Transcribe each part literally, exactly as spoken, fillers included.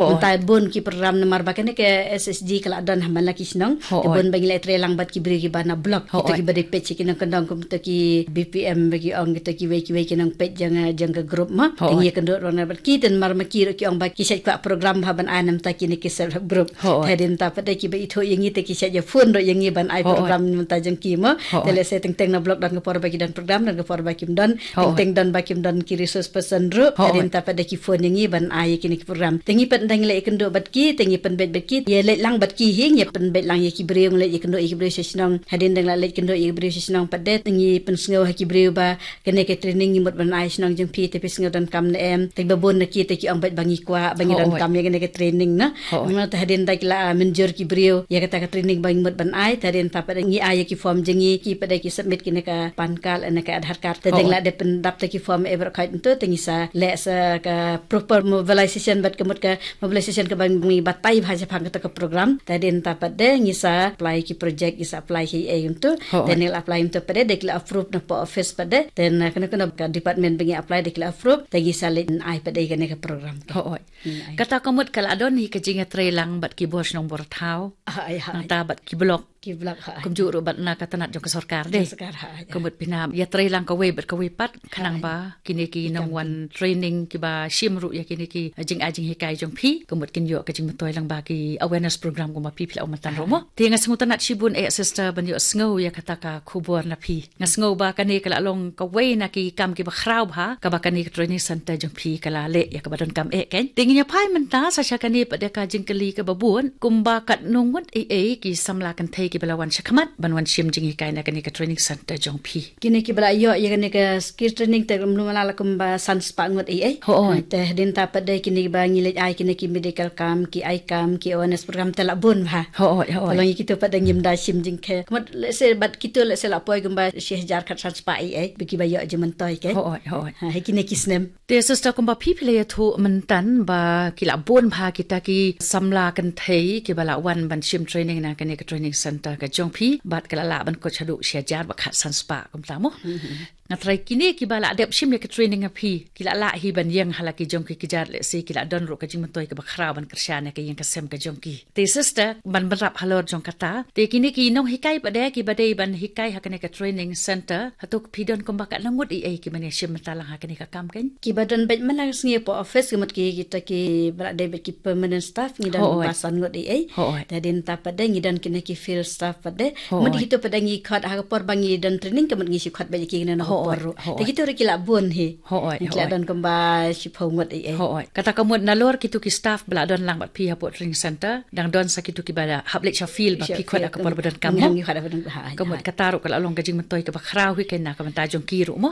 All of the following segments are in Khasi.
Mynta bun ki program namar ba kane ka S H G ka la don ha man la ki shnong. Te bun ba ngi la trei lang bad ki briew kiba na block. Kita kiba dei peit ki nongkyndong kumta ki B P M ba ki ong kita kiwei kiwei ki nongpeit jong, eh, jong ka group ma. Te ngi ïakynduh ruh na bad ki te namar ma ki ruh ki ong ba ki shait kwah program ha ban ai namta kine ki self help group. Te hadien ta pat de kiba ithuh ïa ngi te ki shait ïa phone ruh ïa ngi ban ai program namta jong ki ma. Te lehse teng teng na block don ka por ba ki don program, don ka por ba kim don. Teng teng don ba kim don ki resource person ruh. Hadien ta pat de ki phone ïa ngi ban ai ïa kine ki program. Te ngi pat dang leh ïakynduh bad ki, te ngi pynbeit bad ki. Ïa leit lang bad ki hi, ngi pynbeit lang ïa ki briew, ngi leit ïakynduh ïa ki briew sha shnong. Hadien dang la leit kynduh ïa ki briew sha shnong pat de, te ngi pynsngew ha ki briew ba kane ka training ngi mut ban ai shnong jong phi, te phi sngew donkam ne em. Te ba bun na ki te ki ong beit ba ngi kwah ba ngi donkam ïa kane ka training na. Namar te hadien da ki la, ah, mynjur ki briew ïa kata ka training ba ngi mut ban ai, te hadien ta pat de ngi ai ïa ki form jong ngi, ki pat de ki submit kine ka PAN card ne ka Aadhaar card. Te dang la dep pyndap te ki form e baroh khoit mynta, te ngi sa leh sa ka proper mobilization bad ka mut ka mobilization kaba ngi batai bha shaphang kata ka program. Te hadien ta pat de ngi sa apply ki project, ngi sa apply ki ei mynta. Te ngi la apply mynta pat de, de ki la approve na poh office pat de. Te na kane kane ka department ba ngi apply de ki la approve. Te ngi sa leit ai pat de kane ka program. Kata ka mut ka la don hi ka jingïatrei lang bad ki bor shnong bor thaw. Nangta bad ki block. Ki block. Kumjuh ruh bad na ka tnat jong ka sorkar de. Ka mut phi na ïatrei lang kawei bad kawei pat khnang ba kine ki nongwan training kiba shim ruh ïa kine ki, eh, jingai jinghikai jong phi. Ka mut kin ïoh ka jingmyntoi lang ba ki awareness program kumba phi phi la ong mynta ruh mo. Te nga sngewtynnat shibun eh sister ban ïohsngew ïa kata ka khubor na phi. Nga sngew ba kane ka la long kawei na ki kam kiba khraw bha kaba kane ka training center jong phi ka la leh ïa kaba donkam eh kan. Te ngin ïa phai mynta sa sha kane pat de ka jingkylli kaba bud, kumba katno ngut ei ei ki samla kynthei kiba la wan shakhmat ban wan shim jinghikai na kane ka training center jong phi. Kine kiba la ïoh ïa kane ka skill training te kumno mala la kumba san spah ngut ei ei. Te hadien ta pat de kine kiba ngi leit ai kine ki medical camp, ki ai camp, ki awareness program te la bun bha. Te long ïa kito pat de ngim da shim jingkheiñ. Ka mut lehse bad kito lehse la poi kumba shi hajar khat san spah ei ei ba kiba ïoh jingmyntoi ke. Ha, ha kine ki snem. Te sister kumba phi phi la ïathuh mynta ba ki la bun bha kita ki samla kynthei kiba la wan ban shim training na kane ka training center ka jong phi bad ka la lah ban kut shaduh shi hajar bad khat san spah kumta mo. Nga trai kine kiba la dep shim ïa ka training ha phi ki la lah hi ban ïeng ha la ki jong ki kjat lehse ki la don ruh ka jingmyntoi kaba khraw ban kyrshan ïa ka ïing ka sem ka jong ki. Te sister ban bynrap halor jong kata. Te kine ki nonghikai pat de kiba dei ban hikai ha kane ka training center. Hato phi don kumba katno ngut ei ei kiba ïa shim mynta lang ha kane ka kam kan. Kiba don beit mynta sngi poh office ka mut ki kita kiba la dei beit ki permanent staff ngi don kumba san ngut ei ei. Te hadien ta pat de ngi don kine ki field staff pat de. Mut kito pat de ngi khot ha ka por ba ngi don training ka mut ngi shu khot beit ïa ki ngi na ka por ruh. Te kito ruh ki la bun hi. Ki la don kumba shiphew ngut ei ei. Kata ka mut nalor kito ki staff ba la don lang bad phi hapoh training center dang don sa kito kiba la hap leit sha field ba phi khot ha ka por ba donkam mo. Ka mut kata ruh ka la long ka jingmyntoi kaba khraw hi kan na ka bynta jong ki ruh mo.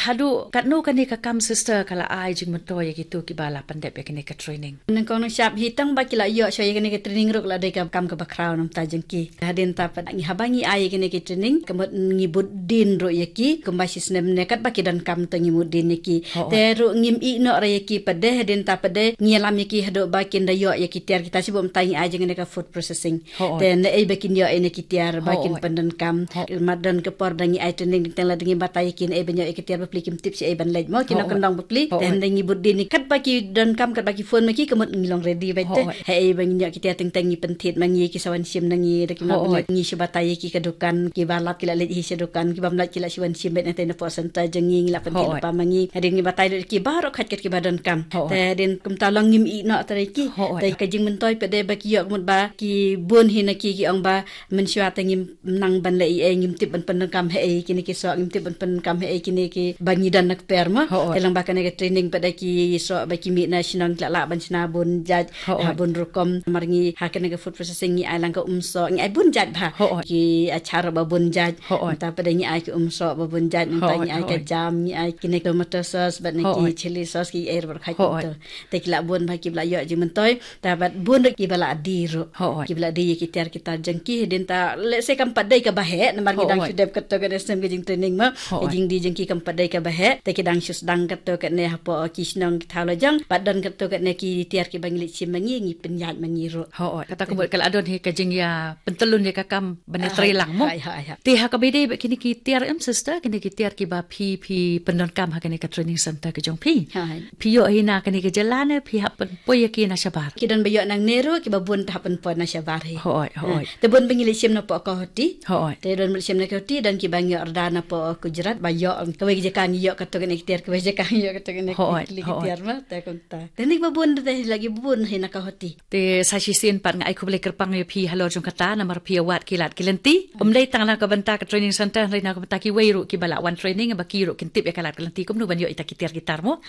Haduh katno kane ka kam sister ka la ai jingmyntoi ïa kito kiba la pyndep ïa kane ka training? Nyngkong nyngshap hi tang ba ki la ïoh shuwa ïa kane ka training ruh ka la dei ka kam kaba khraw namta jong ki. Hadien ta pat ngi haba ngi ai ïa kine ki training ka mut ngi bud din ruh ïa ki kumba shi snem ne katba ki donkam te ngi bud din ïa ki. Te ruh ngim ïeh noh ruh ïa ki pat de hadien ta pat de ngi ïalam ïa ki haduh ba kin da ïoh ïa ki tiar kita shibun mynta ngi ai jong kane ka food processing. Te ne ei ba kin ïoh ïa kine ki tiar ba kin pyndonkam. Mat don ka por da ngi ai training teng la da ngi batai ïa ki ne ei ba ïoh ïa ki tiar ba pli kim tip shi ei ban leit mo ki nongkyndong ba pli. Te hadien ngi bud din ïa ki katba ki donkam katba ki phone ma ki ka mut ngi long ready beit te. Hei ba ngi ïoh ki tiar teng teng ngi pynthied ma ngi ki sa wan shim na ngi da ki ma ngi shu batai ïa ki ka dukan kiba lap ki la leit hi sha dukan kiba mlait ki la shu wan shim beit na te na poh center jong ngi ngi la pynthied lypa ma ngi. Hadien ngi batai da ki baroh khat kat kiba donkam. Te hadien kumta long ngim ïeh noh trai ki. Te ka jingmyntoi pat de ba ki ïoh ka mut ba ki bun hi na ki ki ong ba mynshuwa te ngim nang ban leh ei ei ngim tip ban pyndonkam hei kine ki soh ngim tip ban pyndonkam hei kine kiba ngi don na kper mo. Te long ba kane ka training pat de ki soh ba ki mih na shnong ki la lah ban shna bun jait. Ha bun rukom namar ngi ha kane ka food processing ngi ai lang ka um soh ngi ai bun jait bha. Ki achar ba bun jait. Nta pat de ngi ai ki um soh ba bun jait nta ngi ai ka jam ngi ai kine tomato sauce bad ne ki chili sauce ki ai ruh kha ki to. Te ki la bun bha kiba la ïoh jingmyntoi. Ta bad bun ruh kiba la die ruh. Kiba la die ïa ki tiar ki tar jong ki hadien ta lehse kam pat dei kaba heh namar ngi dang shu dep kato ka snem ka jingtraining ma. Ka jingdie jong ki kam pat dei kaba heh te ki dang shu sdang kato kane hapoh ki shnong ki thaw la jong bad don kato kane ki tiar kiba ngi leit shim ma ngi ngi pynïaid ma ngi ruh. Kata ka mut ka la don hi ka jingïa pyntyllun ïa ka kam ban ïa trei lang mo. Te ha kaba dei bad kine ki tiar em sister kine ki Tiar kiba phi phi pyndonkam ha kane ka training center ka jong phi. Hai. Phi ïoh hi na kane ka jylla ne phi hap pynpoi ïa ki na shabar. Ki don ba ïoh nangne ruh kiba bun te hap pynpoi na shabar hi. Hoi, hoi. Te bun ba ngi leit shim napoh Guwahati. Hoi. Te don ba leit shim na Guwahati, don kiba ngi ïoh rda napoh Gujarat, ba ïoh kawei ka jaka ngi ïoh katto katne ki tiar, kawei ka jaka ngi ïoh katto katne ki tiar ma, te kumta. Te ni ba bun te lagi bun hi na Guwahati. Te sa shisien pat nga ai khublei kyrpang ïa phi halor jong kata namar phi ïa wad ki lad ki lynti. Ym dei tang na ka bynta ka training center, hynrei na ka bynta kiwei ruh kiba la wan training ba ki ruh kin tip ïa ka lad ka lynti kumno ban ïoh ïa kita ki tiar ki tar mo.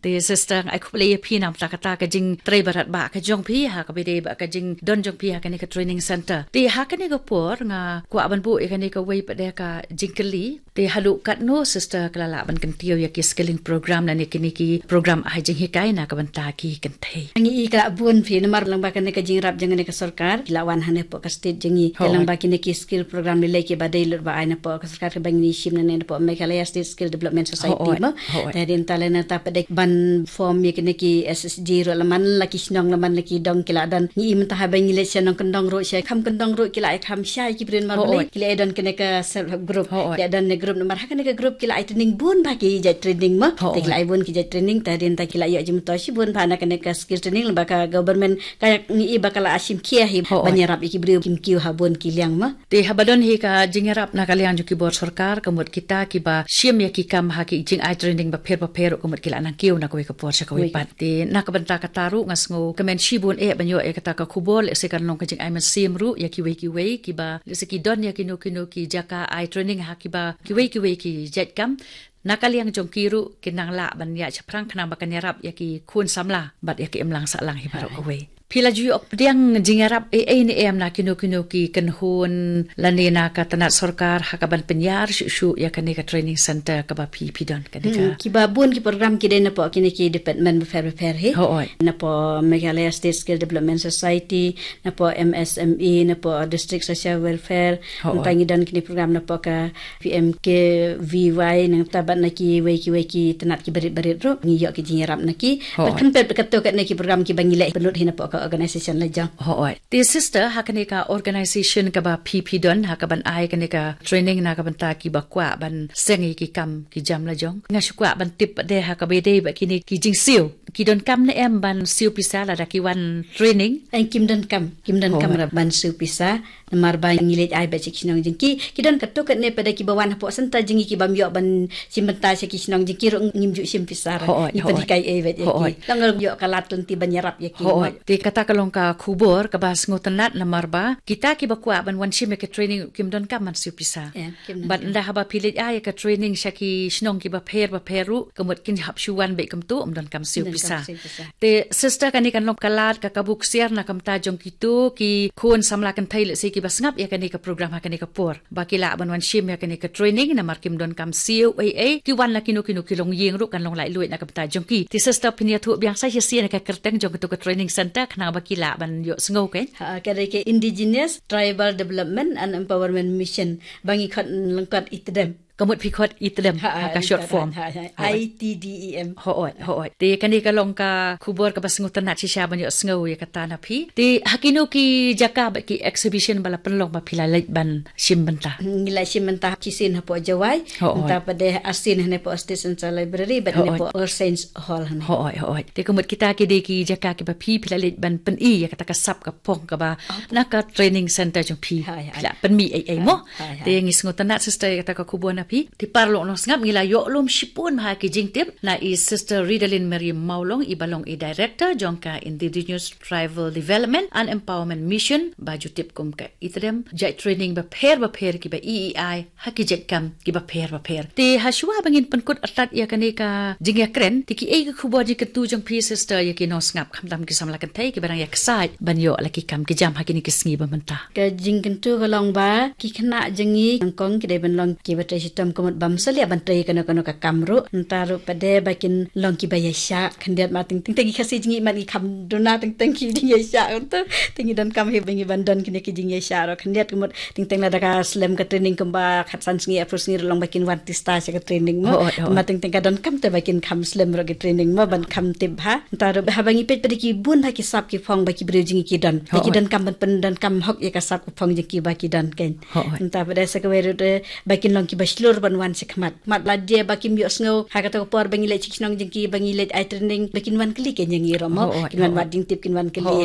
Te sister, nga ai khublei ïa phi namar kata ka jingtrei barat ba ka jong phi ha kaba dei ba ka jingdon jong phi ha kane ka training center. Te ha kane ka por nga kwah ban buh ïa kane kawei pat de ka jingkylli. Te haduh katno sister ka la lah ban kyntiew ïa ki skilling program lane kine ki program ai jinghikai na ka bynta ki kynthei? Ngi i ka la bun phi namar lyngba kane ka jingïarap jong kane ka sorkar ki la wan hangne hapoh ka state jong ngi. Hooid. Lyngba kine ki skill program lei lei kiba dei lut ba ai napoh ka sorkar kaba ngi shim nangne napoh Meghalaya State Skill Development Society. Hooid, mo. Hooid. Te hadien ta lane ta pat de ban form ïa kine ki S H G ruh, la man la ki shnong, la man la ki dong ki la don. Ngi i mynta haba ngi leit sha nongkyndong ruh, sha kham kyndong ruh ki la ïa kham shai ki briew namar balei? Hooid. Ki la ïa don kane ka self help group. Hooid. Ki la don ne group namar ha kane ka group ki la ai training bun bha ki jait training mo. Hooid. Te ki la ai bun ki jait training, te hadien ta ki la ïoh jingmyntoi shibun bha na kane ka skill training lyngba ka government ka, ngi i ba ka la shim khia hi. Hooid. Ban ïarap ïa ki briew kim kiew ha bun ki liang mo. Te haba don hi ka jingïarap na ka liang jong ki bor sorkar, ka mut kita kiba shim ïa ki kam ha ki jingai training bapher bapher ruh ka mut ki la nang kiew na kawei ka por sha kawei pat. Te na ka bynta kata ruh nga sngew kmen shibun eh ban ïoh ïa kata ka khubor, lehse kan long ka jingai mynsiem ruh ïa kiwei kiwei kiba lehse ki don ïa kino kino ki jaka ai training ha kiba kiwei kiwei ki jait kam. Na ka liang jong ki ruh kin nang lah ban ïaid shaphrang khnang ba kan ïarap ïa ki khun samla bad ïa ki imlang sahlang hi baroh kawei. Phi la ju ïoh pdiang jingïarap ei ei ne em na kino kino ki kynhun lane na ka tnat sorkar ha kaban pynïar shuh shuh ïa kane ka training center kaba phi phi don kane ka? Hmm, kiba bun ki program ki dei napoh kine ki department bapher bapher hi. Hooid. Napoh Meghalaya State Skill Development Society, napoh M S M E, napoh District Social Welfare. Hooid. Nangta ngi don kine program napoh ka P M K V Y, nangta bad na kiwei kiwei ki tnat ki barit barit ruh ngi ïoh ki jingïarap na ki. Hooid. Bad khyndiat katto katne ki program kiba ngi leh pynlut hi napoh ka organization la jong. Hooid. Te sister, ha kane ka organization kaba phi phi don ha kaban ai kane ka training na ka bynta kiba kwah ban seng ïa ki kam ki jam la jong. Nga shu kwah ban tip pat de ha kaba dei ba kine ki jingsiew, ki donkam ne em ban siew pisa lada ki wan training? Em, kim donkam, kim donkam ruh ban siew pisa. Namar ba ngi leit ai beit sha ki shnong jong ki, ki don katto katne pat de kiba wan hapoh center jong ngi kibym ïoh ban shim bynta sha ki shnong jong ki ruh ngim ju shim pisa ruh. Hooid, ngi pynhikai ei beit ïa ki. Hooid. Tang ïoh ka lad lynti ban ïarap ïa ki. Hooid. Te kata ka long ka khubor kaba sngewtynnat namar ba kita kiba kwah ban wan shim ïa ka training kim donkam ban siew pisa. Em, kim donkam. Bad ynda haba phi leit ai ïa ka training sha ki shnong kiba pher bapher ruh ka mut kin hap shu wan beit kumto, ym donkam siew pisa. Ym donkam siew pisa. Te sister, kane kan long ka lad ka kabu ksiar na ka bynta jong kito ki khun samla kynthei lehse kiba sngap ïa kane ka program ha kane ka por ba ki lah ban wan shim ïa kane ka training namar kim donkam siew ei ei, ki wan na kino kino ki longïing ruh kan long laitluid na ka bynta jong ki. Te sister, phin ïathuh biang sa shisien ïa ka kyrteng jong kato ka training center khnang ba ki lah ban ïoh sngew kein? Ha, ka dei ka Indigenous Tribal Development and Empowerment Mission, ba ngi khot lyngkot I T D E M. Ka mut phi khot I T D E M ha ka short form. Ha, ha, ha. Hooid. I T D E M. Hooid, hooid. Te kane ka long ka khubor kaba sngewtynnat shisha ban ïoh sngew ïa kata na phi. Te ha kino ki jaka bad ki exhibition ba la pynlong ba phi la leit ban shim bynta? Ngi la shim bynta shisien hapoh Jowai. Hooid. Nangta pat de arsien hangne hapoh State Central Library bad hangne hapoh All Saints Hall hangne. Hooid, hooid. Te ka mut kita ki dei ki jaka kiba phi phi la leit ban pyni ïa kata ka sap ka phong kaba na ka training center jong phi. Hooid, hooid. Phi la pynmih ei ei mo. Hooid, hooid. Te ngi sngewtynnat sister ïa kata ka khubor na phi. Te paralok nongsngap, ngi la ïoh lum shibun bha ki jingtip na i Sister Ridalin Mary Mawlong, iba long i Director jong ka Indigenous Tribal Development and Empowerment Mission, ba ju tip kum ka I T D E M, jait training bapher bapher kiba i i ai ha ki jait kam kiba pher bapher. Te ha shuwa ba ngin pynkut artat ïa kane ka jingïakren, te kiei ki khubor jingkyntu jong phi sister ïa ki nongsngap, khamtam ki samla kynthei kiba dang ïaksaid ban ïoh la ki kam ki jam ha kine ki sngi ba mynta? Ka jingkyntu ka long ba ki khynnah jong ngi nyngkong ki dei ban long kiba trei shitom, ka mut bym salia ban trei kano kano ka kam ruh. Nangta ruh pat de ba kin long kiba ïaishah khyndiat, namar teng teng ki Khasi jong ngi man ki kham duna teng teng ki jingïaishah, nangta te ngi donkam hi ba ngi ban don kine ki jingïaishah ruh khyndiat, ka mut teng teng lada ka slem ka training kumba khatsan sngi arphew sngi ruh long ba kin wan tista sha ka training mo. Hooid, hooid. Namar teng teng ka donkam te ba kin kham slem ruh ka training mo ban kham tip bha. Nangta ruh haba ngi peit pat de ki bun bha ki sap ki phong ba ki briew jong ngi ki don. Te ki donkam ban pyndonkam hok ïa ka sap ka phong jong ki ba ki don kein. Hooid. Nangta pat de sa kawei ruh de ba kin long kiba shlur dur ban wan sha khmat. Khmat la dei ba kim ïohsngew ha kata ka por ba ngi leit sha ki shnong jong ki, ba ngi leit ai training, ba kin wan kylli kein ïa ngi ruh mo. Oh, oh, kin wan oh. Wad jingtip, kin wan kylli. Oh,